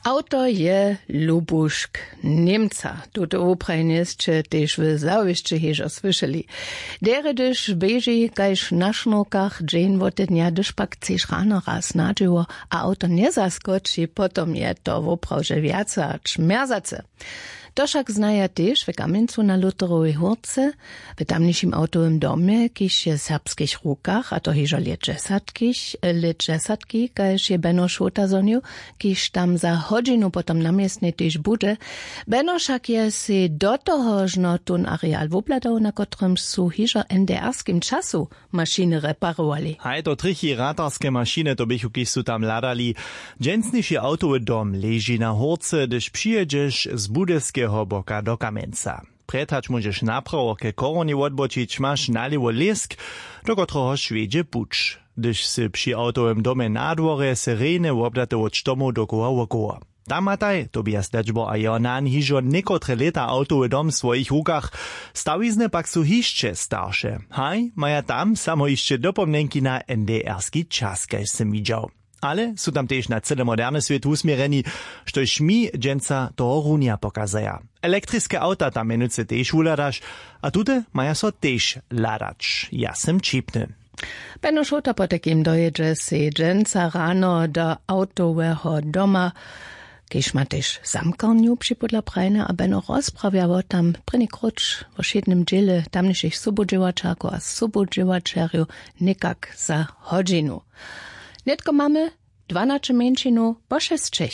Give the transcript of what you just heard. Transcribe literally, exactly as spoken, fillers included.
Awto je lubušk němca. Tuto wuprajnje sće tež w zawěsće hižo słyšeli. Derje hdyž běži kaž na šnurkach dźeń wotednja, hdyž pak chceš rano raz na dźěło a awto njezaskoči, potom je to woprawdźe wjace hač mjerzace. To wšak znaja tež w kamjencu na lutherowej hórce, w tamnišim awtowym domje, kiž je w serbskich rukach a to hižo lět dźesatki, lět dźesatki kaž je beno šołta zhonił, kiž tam za hodźinu potom na městnje tež budźe. Beno wšak je sej do toho žno tón areal wobhladał, na kotrymž su hižo w ndrskim času mašiny reparowali. Haj, to trjechi ratarske mašiny to běchu, kiž su tam hladali. Dźensniši awtowy dom leži na hórce, hdyž přijědźeš z budyskeho boka do kamjenca. Prjed hač móžeš naprawo ke chorowni wotbočić, maš nalěwo lěsk, do kotrehož wjedźe puć. Hdyž sy při awtowym domje na dworje, syreny wobdate wot štomow dokoła wokoło. Tam mataj tobias dečbo a jeho nan hižo někotre lěta awtowy dom w swojich rukach. Stawizny pak su hišće starše, haj, maja tam samo hišće dopomnjenki na ndrski čas, kaž sym widźał. Ale su tam tež na cyle moderny swět wusměrjeni, štož mi dźensa tohorunja pokazaja. Elektriske awta tam mjenujcy tež wuhladaš, a tute maja so tež hladać. Ja sym ćipny. Beno šołta potajkim dojědźe sej dźensa rano do awtoweho doma, kiž ma tež zamkarnju připódla prajne a beno rozprawja wo tam prěni króć wo wšědnym dźěle tamnišich sobudźěłaćerkow a sobudźěłaćerjow, někak za hodźinu. Nětko mamy dwanaće mjeńšinow po šesćech.